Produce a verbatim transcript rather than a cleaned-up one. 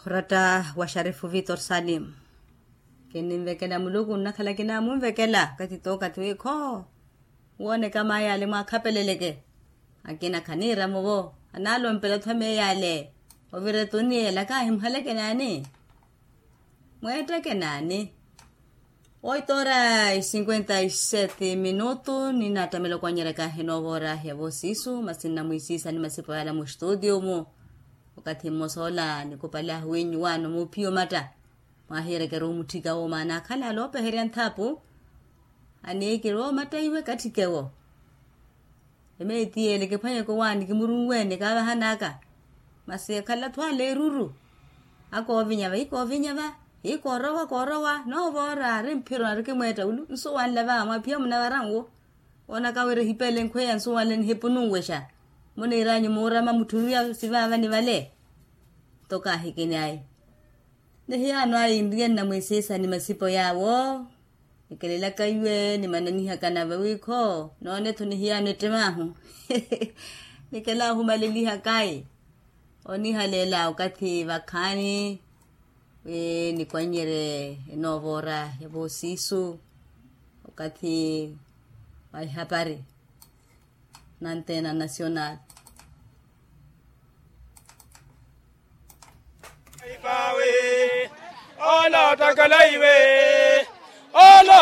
Oratta wa xarifu vitor salim. Kinnimvekela muluku nnakhala kinamunvekela kathi tookathi wiikho. Wooneka maayale mwaakhapeleleke. Akina khaniiramuvo. Anaalompela othu ameeyale. Ovira etuni ela kaahimuhaleke naani? Mweetteke naani? Oito ora e cinquenta e sete minutu ninattamela okwanyerya kahi noova ora ya voosiisu masi nnamwiisiisa ni masipo yala mustuutiyo-mu. Okathi mmosa ola nikupali ahuwinyu waano muuphiya omatta. Mwaahiyerekeru omutthika wo maana akhala aloopeherya nthaapu. Aniikiri omatta iwe katthikewo. Emeeti ele kiphwanyeke owaani kimurunweene kaavahanaka. Masi akhala atthu ale eruru. Akoovinya va hikoovinya va hikoorowa koorowa noova ora ari mphiro narikimweetta ulu nsuwanle va mwaphiya munavara nwo. Woonaka wira ehipele nkhweya nsuwanle nihipununwexa. Muniiranyu muurama mutthuruya sivaavani vale. Nto kaahikini ayi. Nihiyaano ayi nriye nnamwiisiisa ni masipo yaawo. Nikelelaka iwe nimananihaka nave wiikho noone-tho nihiyaano ettem'ahu. Nikela ohumalelihaka ayi. Onihaleela okathi vakhaani wi nikwanyerye enoova ora ya voosiisu. Okathi wa ihapari na antena nacional. Ipawe ola otakala iwe ola.